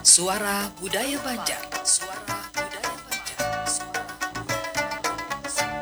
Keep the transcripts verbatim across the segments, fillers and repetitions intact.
Suara Budaya Banjar. Suara Budaya Banjar. Suara Budaya Banjar.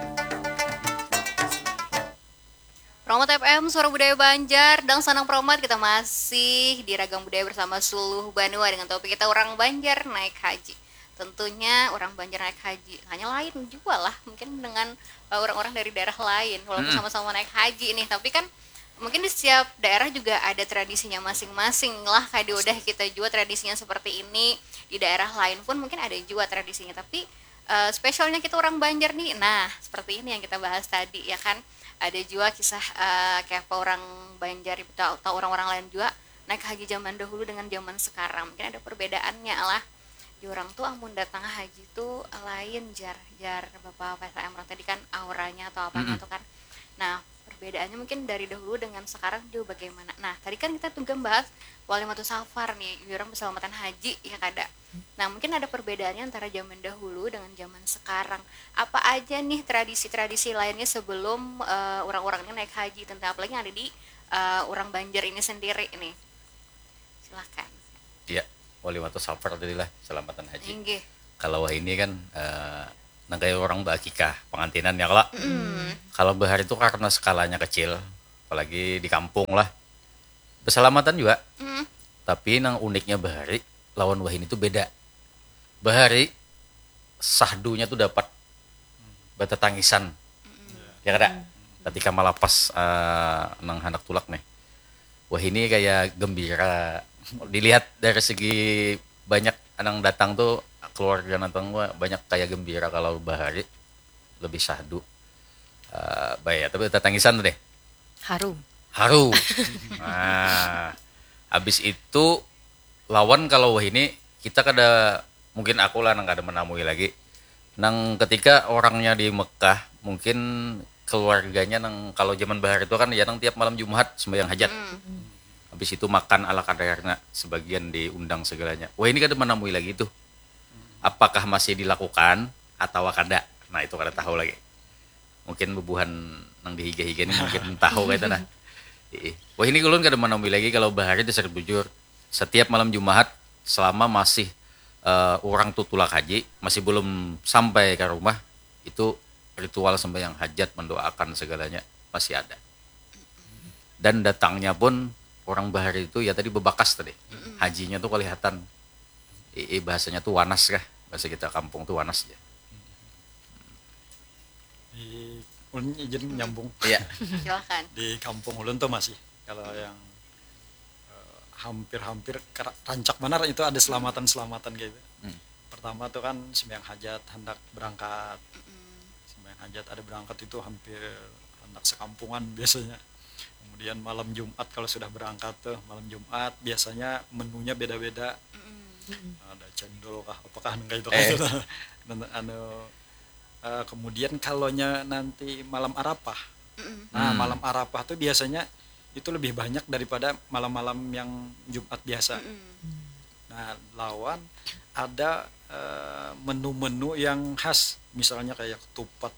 Promat F M, Suara Budaya Banjar, dan Sanang Promat, kita masih di Ragam Budaya bersama Suluh Banua dengan topik kita orang Banjar naik haji. Tentunya orang Banjar naik haji, hanya lain juga lah mungkin dengan uh, orang-orang dari daerah lain, walaupun sama-sama naik haji nih, tapi kan mungkin di setiap daerah juga ada tradisinya masing-masing lah, kayak di udah kita juga tradisinya seperti ini, di daerah lain pun mungkin ada juga tradisinya, tapi uh, spesialnya kita orang Banjar nih, nah seperti ini yang kita bahas tadi ya kan, ada juga kisah uh, kayak apa orang Banjar atau orang-orang lain juga naik haji zaman dahulu dengan zaman sekarang, mungkin ada perbedaannya lah. Di orang tuh amun datang haji tuh lain jar jar bapak P S M orang tadi kan auranya atau apanya tuh kan. Nah, perbedaannya mungkin dari dahulu dengan sekarang juga bagaimana. Nah, tadi kan kita juga bahas wali matu safar nih, orang berselamatan haji ya kada. Nah, mungkin ada perbedaannya antara zaman dahulu dengan zaman sekarang. Apa aja nih tradisi-tradisi lainnya sebelum uh, orang-orang ini naik haji, tentang apalagi yang ada di uh, orang Banjar ini sendiri nih. Silakan. Iya, wali matu safar tadi lah, selamatan haji. Inggih. Kalau wahini kan uh, nang kayak orang bakikah pengantinan ya kalau. Mm. Kalau bahari itu karena skalanya kecil, apalagi di kampung lah. Berselamatan juga. Mm. Tapi nang uniknya bahari lawan wahini itu beda. Bahari sahdunya tuh dapat batatangisan. Ya kada? Ketika malapas uh, nang handak tulak nih. Wah ini kayak gembira. Dilihat dari segi banyak nang datang tuh keluarga nang banyak kayak gembira kalau bahari lebih sahdu. Uh, baik, tapi tatangisan tuh deh. Harum. Harum. Nah, habis itu lawan kalau wah ini kita kada mungkin aku lah nang kada menamui lagi nang ketika orangnya di Mekah mungkin keluarganya nang kalau zaman bahar itu kan ya nang tiap malam Jumat sembahyang hajat hmm. Habis itu makan ala kadarnya sebagian diundang segalanya wah ini kada menamui lagi tuh apakah masih dilakukan atau kada nah itu kada tahu lagi mungkin bubuhan nang dihiga-higa ini mungkin tahu kayak itu nah wah ini ulun kada menamui lagi kalau bahar itu sering bujur setiap malam Jumat selama masih uh, orang tuh tulak haji masih belum sampai ke rumah itu ritual sembahyang hajat mendoakan segalanya masih ada dan datangnya pun orang bahari itu ya tadi bebakas tadi hajinya tuh kelihatan eh, bahasanya tuh wanas kah bahasa kita kampung tuh wanas ya di ulun izin nyambung iya silakan di kampung ulun tuh masih kalau yang hampir-hampir rancak benar itu ada selamatan-selamatan gitu. Hmm. Pertama tuh kan sembahyang hajat hendak berangkat. Hmm. Sembahyang hajat ada berangkat itu hampir hendak sekampungan biasanya. Kemudian malam Jumat kalau sudah berangkat tuh malam Jumat biasanya menunya beda-beda. Hmm. Ada cendol kah apakah nengka itu eh. Kan anu uh, kemudian kalaunya nanti malam Arafah. Hmm. Nah, hmm. Malam Arafah tuh biasanya itu lebih banyak daripada malam-malam yang Jumat biasa. Mm. Nah, lawan ada menu-menu uh, yang khas, misalnya kayak ketupat,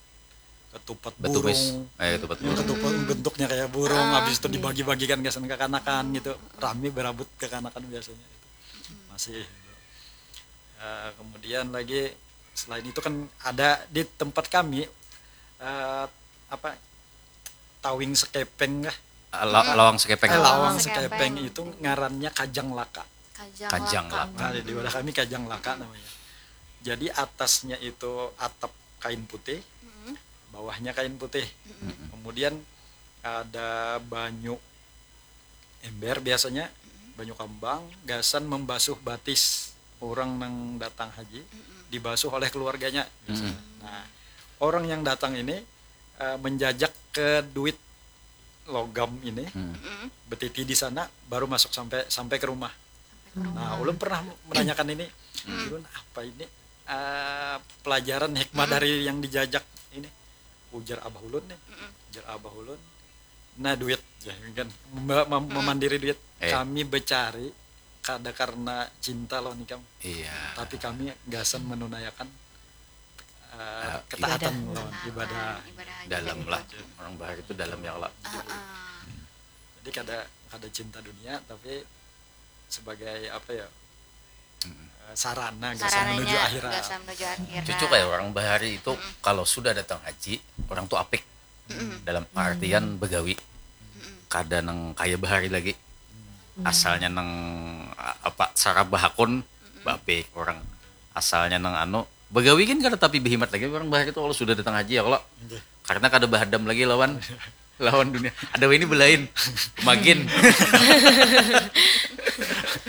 ketupat Betumis. burung, eh, ketupat burung. Ketupat bentuknya kayak burung, ah, habis itu iya. Dibagi-bagikan ke kekanakan gitu, rame berabut kekanakan biasanya. Masih. Uh, kemudian lagi selain itu kan ada di tempat kami uh, apa tawing sekepeng kah? La lawang sekepeng. Eh, lawang sekepeng itu ngarannya kajang laka. Kajang, kajang laka. Nah, di daerah kami kajang laka namanya. Jadi atasnya itu atap kain putih, mm -hmm. Bawahnya kain putih. Mm -hmm. Kemudian ada banyu ember biasanya, mm -hmm. Banyu kambang, gasan membasuh batis orang nang datang haji, mm -hmm. Dibasuh oleh keluarganya. Mm -hmm. Nah, orang yang datang ini uh, menjajak ke duit logam ini hmm. Betiti di sana baru masuk sampai sampai ke rumah. Sampai ke rumah. Nah, ulun pernah menanyakan ini, hmm. Ulun apa ini uh, pelajaran hikmah hmm. Dari yang dijajak ini? Ujar abah ulun nih, hmm. Ujar abah ulun, nah duit ya kan mem hmm. Memandiri duit. Eh. Kami becari kada karena cinta loh nikam. Iya. Tapi kami gasan menunaikan uh, ketaatan ibadah. Lawan ibadah. Ibadah dalam lah orang bahar itu dalam ya Allah. Uh, uh. Jadi kada kada cinta dunia tapi sebagai apa ya Sarana gasan menuju akhirat. Gasan menuju akhirat. Cucu kayak orang bahari itu kalau sudah datang haji, orang tuh apik. Dalam artian begawi. Kada nang kaya bahari lagi. Asalnya nang apa sarabah akun, babik orang. Asalnya nang anu, begawi kan kada tapi behimat lagi orang bahari itu kalau sudah datang haji ya kalau. Karena kada bahadam lagi lawan lawan dunia. Ada ini belain. Magin.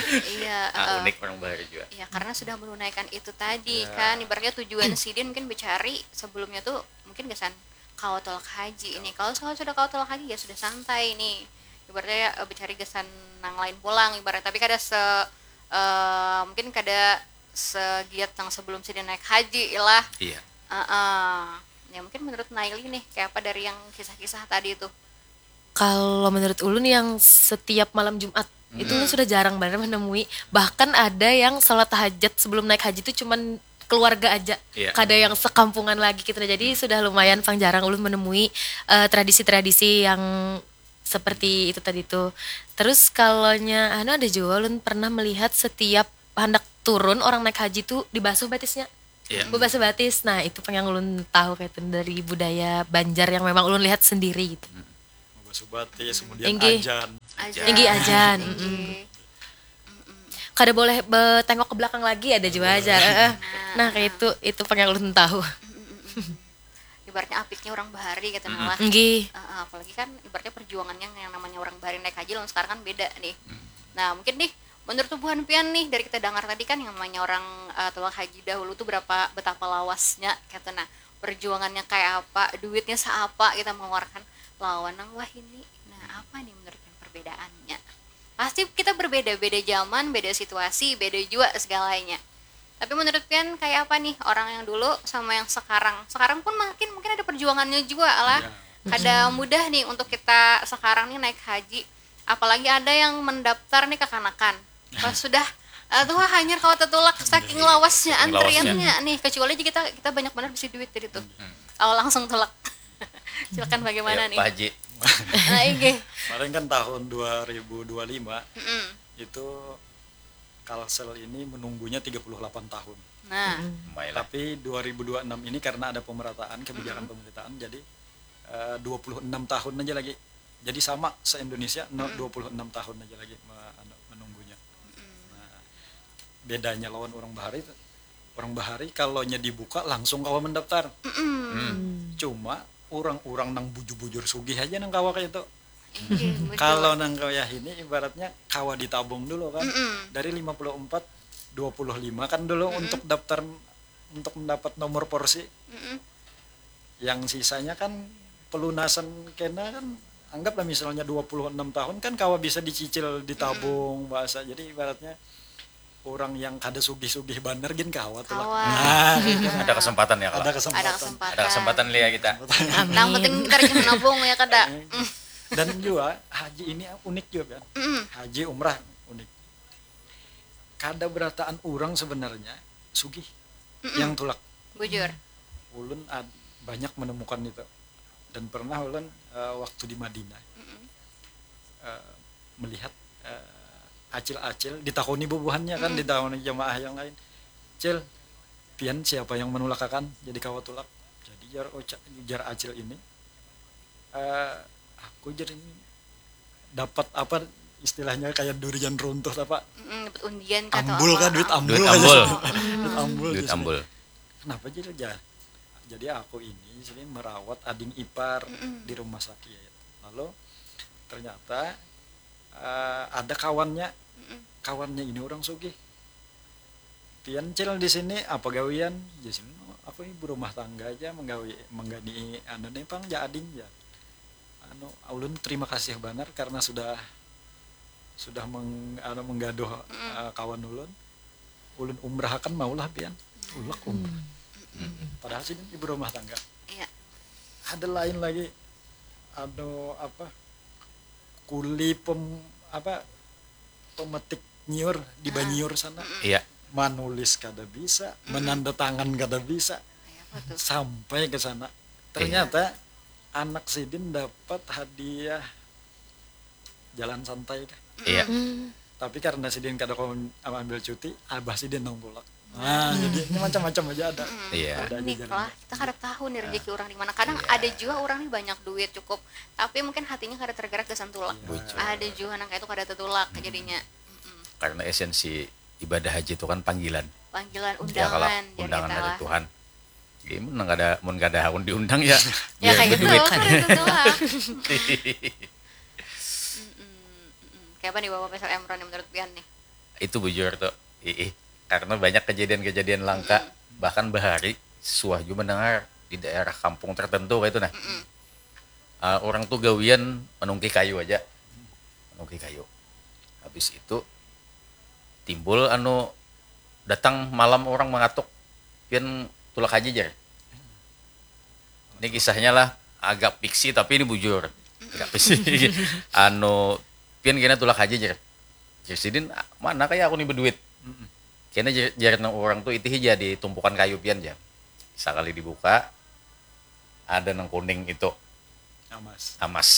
Iya, Ah, eh, unik orang bahari juga. Ya, karena sudah menunaikan itu tadi kan, ibaratnya tujuan sidin mungkin mencari sebelumnya tuh mungkin gasan kawa tolak haji ini. Kalau kalau sudah kawa tolak haji ya sudah santai nih. Ibaratnya eh, mencari gasan nang lain pulang ibarat, tapi kada se eh, mungkin kada segiat nang sebelum sidin naik haji lah. Iya. Heeh. Ya mungkin menurut Naili nih kayak apa dari yang kisah-kisah tadi itu? Kalau menurut ulun yang setiap malam Jumat itu ulun sudah jarang banget menemui, bahkan ada yang salat tahajud sebelum naik haji itu cuman keluarga aja, Iya. Kada yang sekampungan lagi gitu. Nah, jadi sudah lumayan pang jarang ulun menemui eh, tradisi-tradisi yang seperti itu tadi tuh. Terus kalaunya anu ada juga ulun pernah melihat setiap handak turun orang naik haji tuh dibasuh batisnya. Iya. Bebasuh batis. Nah, itu pang yang ulun tahu kayak itu dari budaya Banjar yang memang ulun lihat sendiri gitu. Basuh batis, kemudian Inggih. ajan. Aja. Inggih ajan. Mm-mm. Inggih. Kada boleh betengok ke belakang lagi ada juga aja. Heeh. Nah, kayak itu itu pang yang ulun tahu. Ibaratnya apiknya orang bahari gitu nah lah. Inggih. Heeh, apalagi kan ibaratnya perjuangannya yang namanya orang bahari naik haji lawan sekarang kan beda nih. Nah, mungkin nih menurut tubuhan pian nih dari kita dengar tadi kan yang namanya orang eh, tolak haji dahulu tuh berapa betapa lawasnya gitu nah. Perjuangannya kayak apa, duitnya seapa kita mengeluarkan lawan nang wahini. Nah, apa nih menurut pian perbedaannya? Pasti kita berbeda-beda zaman, beda situasi, beda juga segalanya. Tapi menurut pian kayak apa nih orang yang dulu sama yang sekarang? Sekarang pun makin mungkin ada perjuangannya juga lah. Kada mudah nih untuk kita sekarang nih naik haji. Apalagi ada yang mendaftar nih kekanakan. Pas sudah eh, tuh hanyar kawa tetulak saking lawasnya Saking lawasnya. Antriannya nih, kecuali aja kita kita banyak banget bisi duit dari tuh. Kalau langsung tulak. Silakan bagaimana Ya, nih? Pak Haji. Nah, inggih. Kemarin kan tahun dua ribu dua lima Mm-mm. itu Kalsel ini menunggunya tiga puluh delapan tahun. Nah, Mailah. Tapi dua ribu dua enam ini karena ada pemerataan kebijakan pemerataan jadi eh, dua puluh enam tahun aja lagi. Jadi sama se-Indonesia no, dua puluh enam tahun aja lagi me- anu, menunggunya. Nah, bedanya lawan orang bahari itu orang bahari kalau nya dibuka langsung kawa mendaftar. Cuma orang-orang nang bujur-bujur sugih aja nang kawa kayak itu. inggih, betul. Kalau nang kaya ini ibaratnya kawa ditabung dulu kan. Dari lima puluh empat dua puluh lima kan dulu untuk daftar untuk mendapat nomor porsi. Mm-mm. Yang sisanya kan pelunasan kena kan anggaplah misalnya dua puluh enam tahun kan kawa bisa dicicil ditabung bahasa. Jadi ibaratnya orang yang kada sugih-sugih banar gin kawa tuh lah. Kawa. Nah, Ada kesempatan ya kalau. Ada kesempatan. Ada kesempatan. Ada kesempatan lihat kita. Nang penting kita rajin menabung ya kada. Dan juga haji ini unik juga kan. Haji umrah unik. Kada berataan orang sebenarnya sugih yang tulak. Bujur. Ulun ad- banyak menemukan itu. Dan pernah ulun eh, waktu di Madinah eh, melihat eh, acil-acil ditakoni bubuhannya kan ditakoni jamaah yang lain. Cil, pian siapa yang menulakakan jadi kawa tulak? Jadi jar uca- jar acil ini eh, aku jar ini dapat apa istilahnya kayak durian runtuh apa Mm, dapat undian kah atau ambul apa? Kah duit ambul Duit kah ambul. Duit ambul Duit justru. Ambul. Kenapa jadi jar jadi aku ini sering merawat ading ipar di rumah sakit lalu ternyata eh, ada kawannya kawannya ini orang sugih pian cil di sini apa gawian di sini aku ibu rumah tangga aja menggawi menggani anu nih pang ja ading ya anu ulun terima kasih banar karena sudah sudah meng, anu, menggaduh eh, kawan ulun ulun umrahakan maulah pian ulak umrah padahal sini ibu rumah tangga Iya. Ada lain lagi anu apa kuli pem apa pemetik nyiur di Banyiur sana Iya. Manulis kada bisa menanda tangan kada bisa Kayak apa tuh? Sampai ke sana ternyata anak sidin dapat hadiah jalan santai kah Iya. Tapi karena sidin kada kawa ambil cuti, abah sidin nang tulak. Nah, jadi ini macam-macam aja ada. Iya. Ada aja Unik jalan. Lah, kita kada tahu nih rezeki orang di mana. Kadang Iya. Ada juga orang nih banyak duit cukup, tapi mungkin hatinya kada tergerak gasan tulak. Bujur. Ada juga nang kayak itu kada tertulak jadinya. Mm-mm. Karena esensi ibadah haji itu kan panggilan. Panggilan Ya, kalau undangan, jar undangan kita dari lah. Tuhan. Jadi mun kada mun kada hakun diundang ya. Ya biar kayak gitu, berduit. Kada tertulak. Mm-mm, mm-mm. Kayak apa nih Bapak Faisal Emron yang menurut pian nih? Itu bujur tuh. Ih, karena banyak kejadian-kejadian langka, bahkan bahari suah juga mendengar di daerah kampung tertentu kayak itu nah. Ah, orang tuh gawian menungki kayu aja. Menungki kayu. Habis itu timbul anu datang malam orang mengatuk, "Pian tulak haji," jar. Ini kisahnya lah agak fiksi tapi ini bujur. Agak fiksi. Anu, "Pian kena tulak haji," jar. Jar sidin, "Mana kayak aku nih berduit?" Kena jar, jar nang orang tuh, "Itu hija di tumpukan kayu pian," jar. Sekali dibuka ada nang kuning itu Amas. Amas.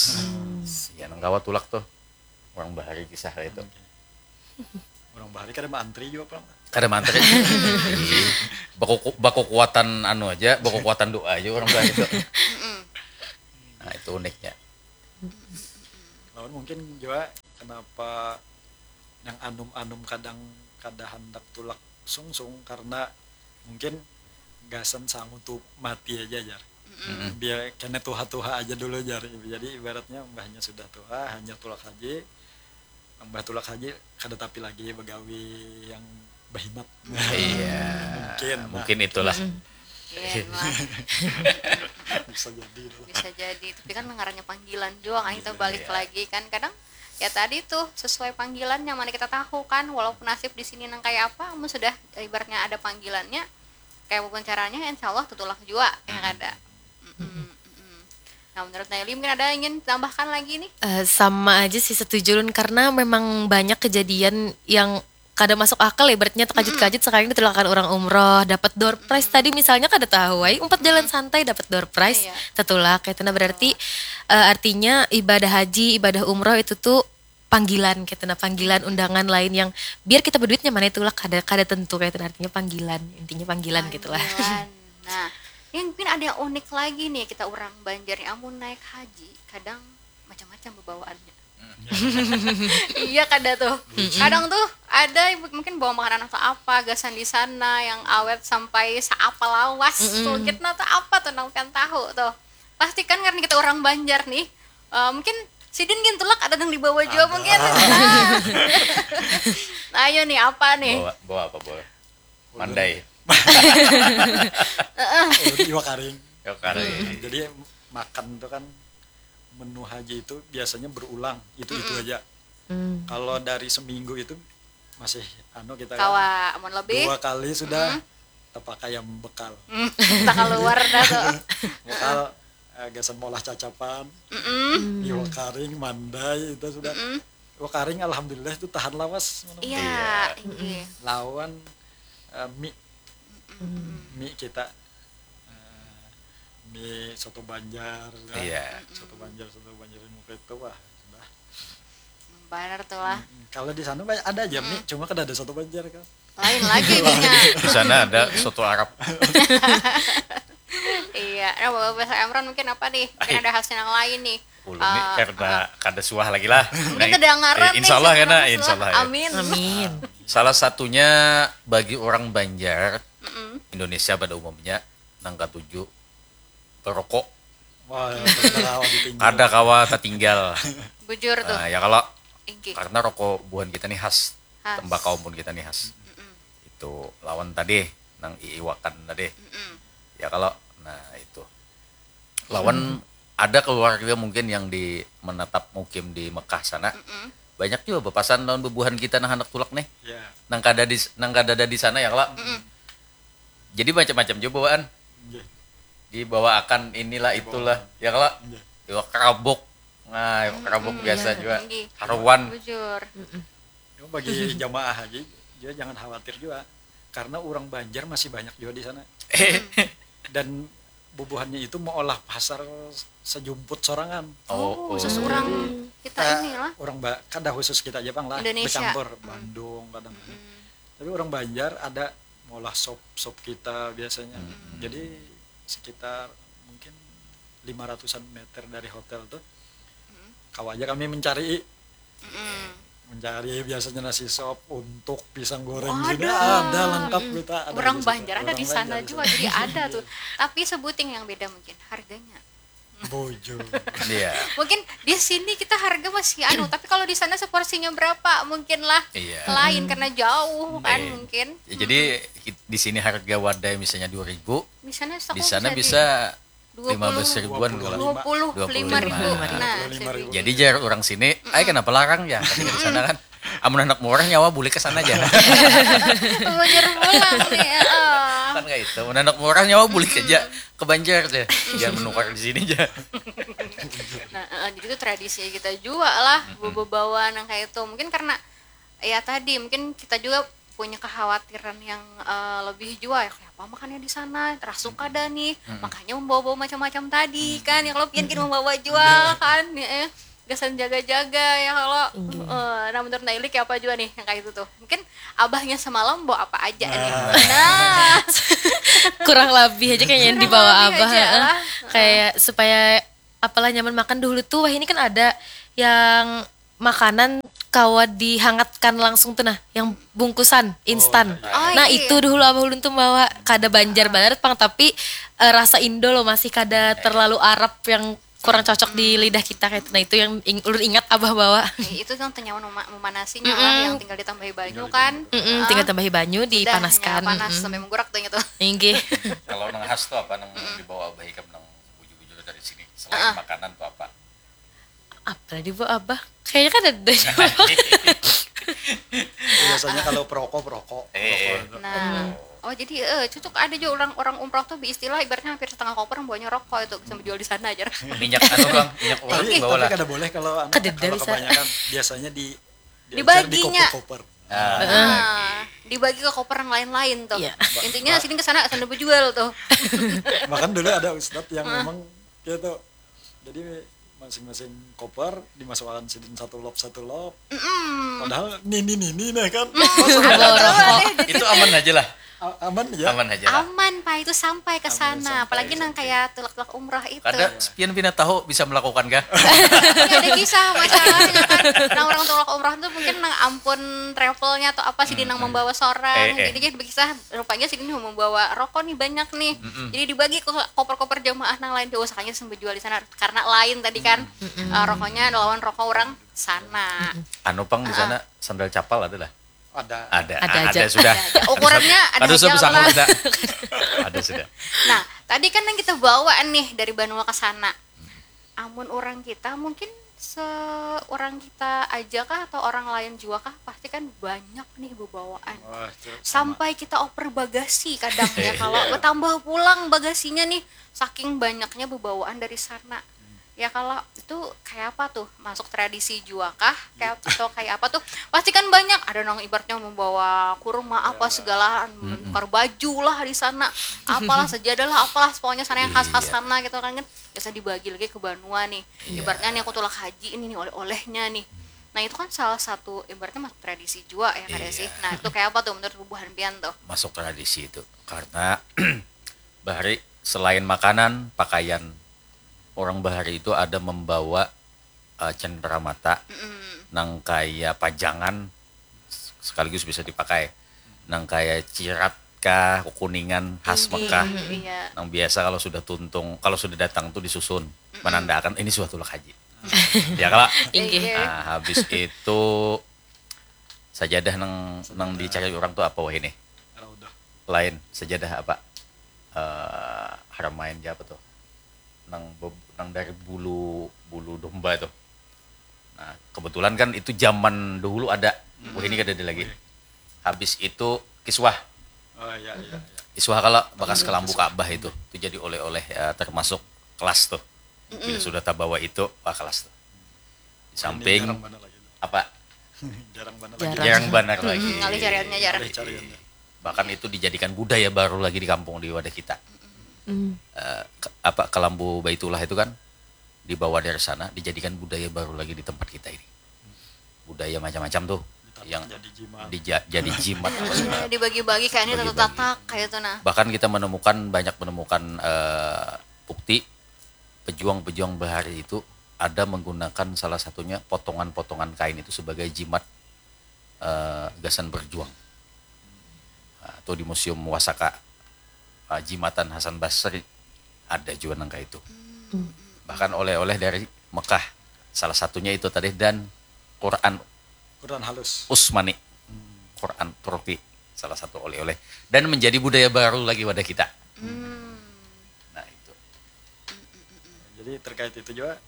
Ya nang kawa tulak tuh. Orang bahari kisah kayak itu. Orang bahari kada maantri juga apa? Kada mantri. Ih, baku baku kuatan anu aja, baku kuatan doa aja orang bahari itu. Nah, itu uniknya. Lawan mungkin juga kenapa yang anum-anum kadang kada handak tulak sungsung karena mungkin gasan sangu tu mati aja jar. Biar kena tuha-tuha aja dulu jar. Jadi ibaratnya mbahnya sudah tuha, hanya tulak haji. Mbah tulak haji kada tapi lagi begawi yang berhimat. Iya. Mungkin, nah. Mungkin itulah. Iya, Bang. Bisa jadi tuh. Bisa jadi, tapi kan ngarannya panggilan juga kan, kita balik lagi kan. Kadang ya tadi tuh sesuai panggilan yang mana kita tahu kan, walaupun nasib di sini nang kayak apa, mun sudah ibaratnya ada panggilannya, kayak apapun caranya insya Allah tutulak juga ya kada. Mm-mm, mm-mm. Nah, menurut Naili mungkin ada ingin tambahkan lagi nih? Eh, sama aja sih, setuju Lun, karena memang banyak kejadian yang kada masuk akal ya, ibaratnya terkajut-kajut sekali ditulakan orang umroh, dapat door prize tadi misalnya, kada tahu ai, umpat jalan santai dapat door prize, Iya. Tetulak kayak itu. Nah, berarti eh, artinya ibadah haji, ibadah umroh itu tuh panggilan kayak itu, nah, panggilan undangan lain yang biar kita berduitnya mana itu lah, kada kada tentu kayak itu, nah, artinya panggilan, intinya panggilan gitulah. Panggilan. Nah, yang mungkin ada yang unik lagi nih, kita orang Banjar nih, amun naik haji kadang macam-macam bawaannya. Iya kada tuh. Kadang tuh ada yang mungkin bawa makanan atau apa gasan di sana yang awet sampai seapa lawas. Tuh kita tuh apa tuh nang pian tahu tuh. Pasti kan karena kita orang Banjar nih. Eh, mungkin sidin gin tulak ada nang dibawa juga mungkin. Nah. Nah, ayo nih apa nih? Bawa bawa apa, Bol? Mandai. Oh, iwak karing. Ya kali. Jadi makan tuh kan menu haji itu biasanya berulang, itu-itu aja. Kalau dari seminggu itu masih anu kita kan Kawa amun lebih. Dua kali sudah terpakai yang bekal. Entah keluar dah tuh. Bekal eh, gasan molah cacapan, iwak karing, mandai itu sudah. Iwak karing alhamdulillah itu tahan lawas. Iya, iya. Lawan eh, mie, mie kita eh, mie soto Banjar, kan? Iya. Soto Banjar, soto Banjar yang muka itu wah sudah. Benar tuh lah. Kalau di sana banyak ada aja mie, cuma kada ada soto Banjar kan. Lain lagi nih. Di sana ada soto Arab. Iya, nah, Bapak Profesor Emron mungkin apa nih? Mungkin ada hasil yang lain nih. Ulun nih karena kada suah lagi lah. Mungkin terdengaran Eh, insya Allah ya, nah, insya Allah ya. Amin. Amin. Salah satunya bagi orang Banjar, Indonesia pada umumnya, nang katuju rokok. Wah, terlalu ditinggal. Kada kawa tertinggal. Bujur tuh. Nah, ya kalau Inggih. Karena rokok buhan kita nih khas, Khas. tembakau buhan kita nih khas. Itu lawan tadi nang iiwakan tadi. Ya kalau nah itu. Lawan ada keluarga mungkin yang di menetap mukim di Mekah sana. Banyak juga bepasan lawan bebuhan kita nang handak tulak nih. Ya. Nang kada di nang kada ada di sana ya kalau. Jadi macam-macam juga bawaan. Nggih. Dibawaakan inilah itulah ya kalau. Iwak kerabuk. Nah, iwak kerabuk biasa juga. Inggih. Haruan. Bujur. Cuma bagi jamaah haji juga jangan khawatir juga karena orang Banjar masih banyak juga di sana. Dan bubuhannya itu meolah pasar sejumput sorangan. Oh, khusus orang kita Ka- inilah. Orang ba- kada khusus kita aja pang lah, Indonesia. Bercampur Bandung kadang. Tapi orang Banjar ada meolah sop sop kita biasanya. Jadi sekitar mungkin lima ratusan meter dari hotel tuh, kawa aja kami mencari mencari biasanya nasi sop untuk pisang goreng juga ada lengkap kita ada Orang di situ. Banjar ada Orang di Banjar sana di juga, sana. Jadi ada tuh. Tapi sebuting yang beda mungkin harganya. Bojo. Iya. Mungkin di sini kita harga masih anu, tapi kalau di sana seporsinya berapa mungkin lah Iya. Lain karena jauh kan Iya. mungkin. Ya, jadi di sini harga wadai misalnya dua ribu, Di sana di sana bisa lima belas ribuan kalau. Dua puluh lima ribu. Dua puluh lima. Nah, Dua puluh lima ribu. Jadi jar orang sini, ay kenapa larang ya? Katanya di sana kan, amun anak murah nyawa bulik ke sana aja. Bujur pulang nih. Heeh. Kan kayak itu, amun anak murah nyawa bulik aja ke Banjar deh, jangan menukar di sini aja. Nah, eh, jadi itu tradisi kita juga lah, bebawa nang kayak itu. Mungkin karena ya tadi mungkin kita juga punya kekhawatiran yang eh, lebih jua ya kayak apa makannya di sana, terasuk kada nih, makanya membawa-bawa macam-macam tadi kan, ya kalau pian gin membawa jua kan, ya eh. Gasan jaga-jaga ya kalau eh, nah menurut Naili kayak apa juga nih yang kayak itu tuh, mungkin abahnya semalam bawa apa aja nih. Nah, Kurang lebih aja kayaknya yang dibawa Kurang lebih abah aja heeh. Lah. Kayak supaya apalah nyaman makan dulu tuh wah ini kan ada yang makanan kawa dihangatkan langsung tuh nah yang bungkusan instan. Oh, Nah iya. Itu dulu abah ulun tuh bawa kada Banjar banget pang tapi eh, rasa Indo loh masih kada terlalu Arab yang kurang cocok di lidah kita kayak itu. Nah itu yang ing- ulun ingat abah bawa. Ya, itu yang tenyaman mema- memanasinya lah yang tinggal ditambahi banyu kan. Mm-mm, tinggal tambahi banyu Udah, dipanaskan. ya, panas Mm-mm. Sampai menggurak tuh gitu. Inggih. Kalau nang khas tuh apa nang dibawa abah ikam nang bujur-bujur dari sini selain makanan tuh apa? Apa tadi bu abah? Kayaknya kan ada. Biasanya kalau perokok perokok. Eh, eh. Perokok. Nah, oh jadi eh cocok ada juga orang orang umroh tuh istilah ibaratnya hampir setengah koper bawanya rokok itu bisa menjual di sana aja. Minyak anu bang, minyak uang Tapi, bawa tapi lah. Kada boleh kalau anu, Kada kalau bisa. Kebanyakan biasanya di diajar di Dibaginya. koper-koper. Ah, Nah, dibagi ke koper yang lain-lain tuh. Iya. Intinya sini ke sana sana berjual tuh. Bahkan dulu ada ustadz yang memang gitu. Jadi masing-masing koper dimasukkan sidin satu lop satu lop. Mm-mm. Padahal nini nini nah kan. Itu aman aja lah, A- aman ya. Aman aja lah. Aman pak itu sampai ke Aman sana, sampai, apalagi nang sampai. Kayak tulak-tulak umrah itu. Kada, pian pina tahu bisa melakukan kah? Ini ada kisah masalahnya kan. Nah orang tulak umrah tuh mungkin nang ampun travelnya atau apa sih nang membawa sorang. Eh, eh. Jadi jadi kisah rupanya sini membawa rokok nih banyak nih. Jadi dibagi ke koper-koper jamaah nang lain diusahakannya sambil jual di sana karena lain tadi kan eh, rokoknya lawan rokok orang sana. Anu pang di sana sandal capal ada lah. Ada. Ada, Ada ada, aja. sudah. Ukurannya ada Kada usah aja besangkal lah. Kita. Ada sudah. Nah, tadi kan yang kita bawaan nih dari banua ke sana. Amun orang kita mungkin seorang kita aja kah atau orang lain juga kah pasti kan banyak nih bebawaan. Wah, itu sama. Sampai kita oper bagasi kadang ya kalau bertambah pulang bagasinya nih saking banyaknya bebawaan dari sana. Ya kalau itu kayak apa tuh masuk tradisi juga kah kayak atau kayak apa tuh pasti kan banyak ada nang ibaratnya membawa kurma apa segala menukar baju lah di sana apalah sajadah lah apalah pokoknya sana yang khas-khas sana gitu kan kan biasa dibagi lagi ke banua nih ibaratnya nih aku tulak haji ini nih oleh-olehnya nih nah itu kan salah satu ibaratnya masuk tradisi juga ya kada sih nah itu kayak apa tuh menurut bubuhan pian tuh Masuk tradisi itu karena bahari selain makanan, pakaian, orang bahari itu ada membawa eh, cendera mata nang kaya pajangan sekaligus bisa dipakai nang kaya cirat kah kukuningan khas Mekah iya nang biasa kalau sudah tuntung kalau sudah datang tuh disusun menandakan ini suatu tulak haji ya kalau Inggih. Nah, habis itu sajadah nang nang dicari orang tuh apa wah ini Raudah. Lain sajadah apa eh haramain ja apa tuh nang be- nang dari bulu bulu domba tuh nah kebetulan kan itu zaman dahulu ada wah ini kada ada lagi habis itu kiswah Oh iya iya. Iya. Iswah kalau bekas kelambu Ka'bah itu itu jadi oleh-oleh eh, termasuk kelas tuh bila sudah tabawa itu wah kelas tuh di samping Jarang mana lagi. Apa Jarang mana Jarang. lagi. Jarang banar lagi. Ngalih cariannya jarang. Ada cariannya. Bahkan itu dijadikan budaya baru lagi di kampung di wadah kita. Hmm. Eh, ke- apa, kelambu Baitullah itu kan dibawa dari sana, dijadikan budaya baru lagi di tempat kita ini. Budaya macam-macam tuh yang jadi jimat. Dija- jadi jimat apa segala. Dibagi-bagi kayak ini, tatak-tatak kayak itu nah. Bahkan kita menemukan, banyak menemukan eh, bukti pejuang-pejuang bahari itu ada menggunakan salah satunya potongan-potongan kain itu sebagai jimat eh, gasan berjuang. Nah, tuh di Museum Wasaka, eh, jimatan Hasan Basri ada juga nang kayak itu. Bahkan oleh-oleh dari Mekah, salah satunya itu tadi, dan Quran Quran halus. Usmani, Quran Turki, salah satu oleh-oleh, dan menjadi budaya baru lagi pada kita. Nah itu. Jadi terkait itu juga,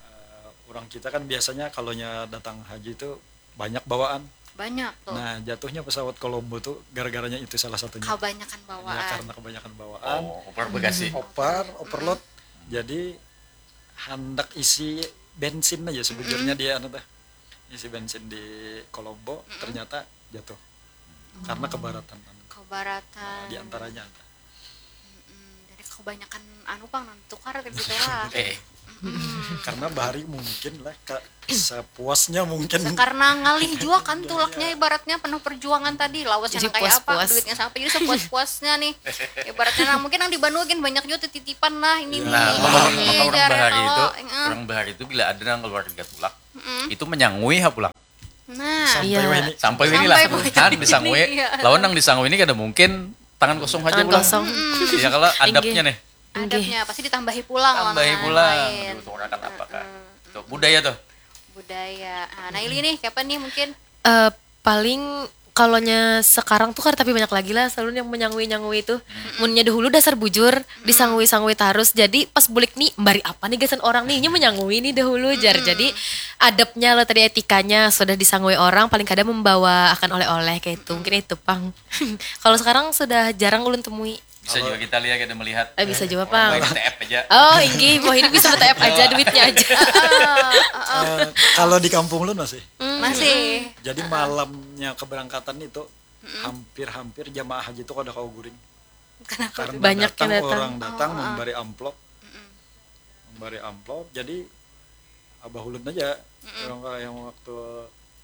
eh, orang kita kan biasanya kalau nya datang haji itu banyak bawaan. Banyak tuh. Nah, jatuhnya pesawat Colombo tuh gara-garanya itu salah satunya. Kebanyakan bawaan. Ya, karena kebanyakan bawaan. Oh, over bagasi. Over, overload. Jadi hendak isi bensin aja sebujurnya dia anu teh. Isi bensin di Colombo ternyata jatuh. Karena kebaratan anu. Kebaratan. Di antaranya ada. Hmm, jadi kebanyakan anu pang nang tukar gitu lah. Eh, Karena bahari mungkin lah ka- sepuasnya mungkin. Karena ngalih juga kan tulaknya, ibaratnya penuh perjuangan tadi, lawas Jadi yang kayak apa, puas-puas. Duitnya sampai, jadi sepuas-puasnya nih. Ibaratnya nah, mungkin yang di Banua gin banyak juga titipan lah ini nih. Nah, maka, Ini maka orang jarang bahari itu, kalau, eh, orang bahari itu bila ada nang keluarga tulak, itu menyangui ha pulang. Nah, Sampai Iya. wah ini. Sampai ini lah. Sampai wah ini. Kan disangui, Iya. Lawan nang disangui ini kada mungkin tangan kosong aja Tangan pulang. kosong. Ya kalau adabnya nih. Adabnya pasti ditambahi pulang. Tambahi Nah, pulang. lain. Diuturakan apakah? Itu budaya tuh. Budaya. Ah, nah, Ili nih, kapan nih mungkin? Eh, paling kalonya sekarang tuh kada tapi banyak lagi lah, selalu yang menyangui-nyangui itu. Munnya dahulu dasar bujur, disangui-sangui tarus. Jadi pas bulik nih, mbari apa nih gasan orang nih, nya menyangui nih dahulu jar. Jadi adabnya lo tadi, etikanya, sudah disangui orang paling kada membawa akan oleh-oleh kayak itu. Mungkin itu pang. Kalau sekarang sudah jarang ulun temui. Bisa juga kita lihat, kita melihat. Eh, bisa juga pang. Main T F aja. Oh, inggih, wah ini bisa T F aja, duitnya aja. Eh, kalau di kampung lu masih. Masih. Jadi malamnya keberangkatan itu hampir-hampir jamaah haji itu kada kawa guring. Karena Banyak yang datang, datang. Orang datang membari amplop, membari amplop. Jadi abah ulun aja yang, yang waktu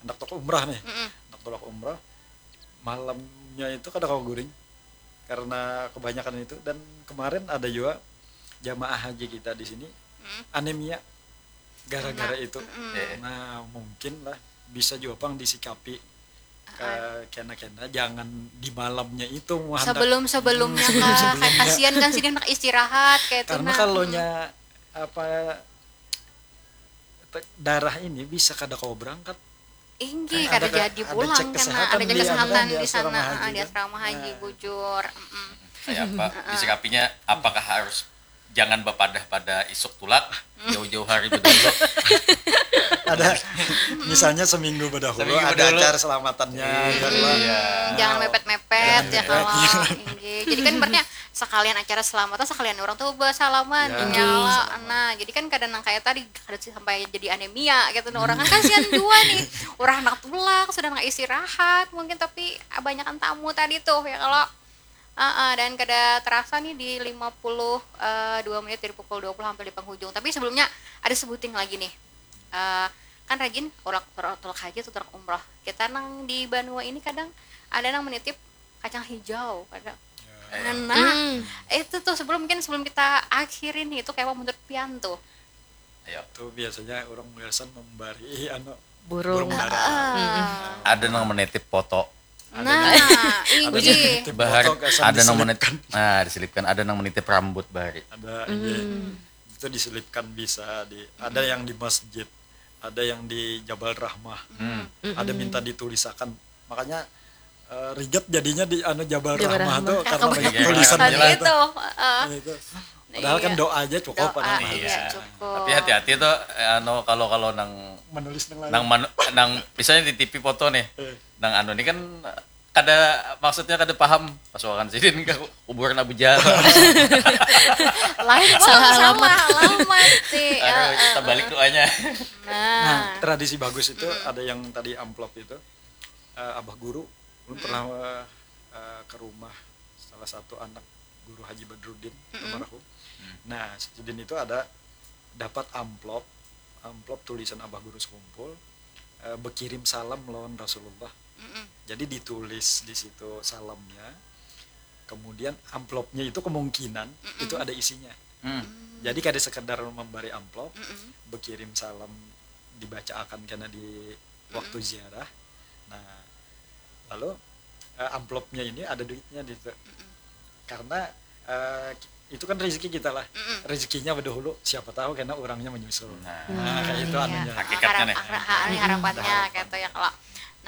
hendak tulak umrah nih, hendak tulak umrah, malamnya itu kada kawa guring karena kebanyakan itu. Dan kemarin ada juga jamaah haji kita di sini anemia gara-gara itu. Eh. Nah, mungkin lah bisa juga pang disikapi ke kena-kena, jangan di malamnya itu muhandak. Sebelum-sebelumnya kah? Kayak kasihan kan sih dia nak istirahat kayak itu. Karena Nah. Kalau nya apa te- darah ini bisa kada kawa berangkat. Inggih, Kan kada ada ke- jadi ada pulang cek kan, kesehatan ada cek di, kesehatan anu, di di sana, asrama ah, haji di kan. Asrama Haji Nah. Bujur. Mm-mm. Kayak apa? Disikapinya apakah harus jangan bapadah pada isuk tulak jauh-jauh hari bedulu? Ada misalnya seminggu bedahulu Seminggu ada bedahulu. Acara selamatannya, ya lah. Iya. Jangan mepet-mepet ya kalau. Inggih. Jadi kan berarti sekalian acara selamatan, sekalian orang tuh bersalaman Ya. nyawa. Nah, jadi kan kadang nang kayak tadi kada sih sampai jadi anemia gitu nah, orang kan kasihan juga nih. Orang anak tulak sudah nggak istirahat mungkin, tapi banyakan tamu tadi tuh ya kalau. Ah, ah, dan kada terasa nih di lima puluh eh, dua menit dari pukul dua puluh hampir di penghujung. Tapi sebelumnya ada sebuting lagi nih. Eh, kan rajin tulak, tulak, tulak haji atau tulak umroh. Kita nang di Banua ini kadang ada nang menitip kacang hijau, kadang. Nah, itu tuh sebelum, mungkin sebelum kita akhirin nih, itu kayak apa menurut pian tuh? Ayo. Itu biasanya orang biasa membari anu Burung. Burung dara. Ada nang menitip foto. Nah, inggih. Bahari Foto kesan ada nang menit diselipkan. Nah, diselipkan, ada nang menitip rambut bahari. Ada iya. Itu diselipkan bisa di, ada yang di masjid, ada yang di Jabal Rahmah. Ada minta ditulisakan. Makanya eh, rigat jadinya di anu Jabal Jabal Rahmah Rahmah. tuh karena Kebanyakan banyak tulisan Iya. Tadi gitu. Itu, heeh. Nah, itu. Padahal kan doa aja cukup Doa, padahal. iya, cukup. Tapi hati-hati tuh eh, anu kalau kalau nang Menulis nang lain. nang manu, nang misalnya titipi foto nih. Eh. Nang anu ini kan kada, maksudnya kada paham, pasuakan sidin ke kuburan Abu Jahal. Lain pun Salah salah alamat. Alamat sih. Aduh, kita balik doanya. Nah, tradisi bagus itu ada yang tadi amplop itu eh, abah guru, ulun pernah eh, ke rumah salah satu anak Guru Haji Badrudin almarhum. Nah, sidin itu ada dapat amplop, amplop tulisan Abah Guru Sekumpul, eh, bekirim salam lawan Rasulullah. Jadi ditulis di situ salamnya. Kemudian amplopnya itu kemungkinan itu ada isinya. Jadi kada sekedar memberi amplop, bekirim salam dibacaakan kena di waktu ziarah. Nah, lalu eh, amplopnya ini ada duitnya di situ. Karena eh, itu kan rezeki kita lah. Rezekinya bedahulu, siapa tahu kena orangnya menyusul. Nah, kayak itu anunya. Hakikatnya nih. Harap, harap, ini harapannya kayak itu ya kalau.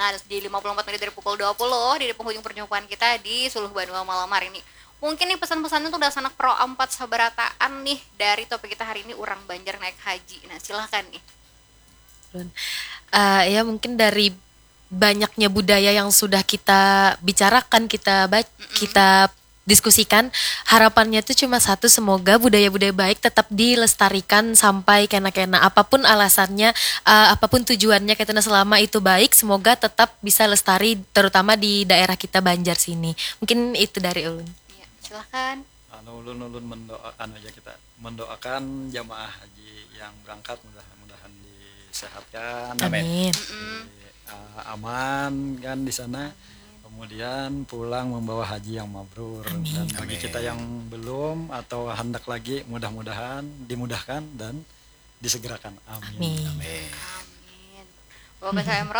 Nah, terus di lima puluh empat menit dari pukul dua puluh di penghujung perjumpaan kita di Suluh Banua malam hari ini. Mungkin nih pesan-pesannya tuh udah sanak pro empat sabarataan nih dari topik kita hari ini, orang Banjar naik haji. Nah, silahkan nih. Eh, ya mungkin dari banyaknya budaya yang sudah kita bicarakan, kita bac- kita diskusikan, harapannya tuh cuma satu, semoga budaya-budaya baik tetap dilestarikan sampai kena-kena, apapun alasannya, eh, apapun tujuannya, katanya selama itu baik, semoga tetap bisa lestari, terutama di daerah kita Banjar sini. Mungkin itu dari ulun. Ya, silahkan. Anu, ulun ulun mendoa anu aja, kita mendoakan jamaah haji yang berangkat mudah-mudahan disehatkan, Amin. di, uh, aman kan di sana. Kemudian pulang membawa haji yang mabrur. Dan bagi kita yang belum atau hendak lagi, mudah-mudahan dimudahkan dan disegerakan. Amin. Amin. Amin. Bapak saya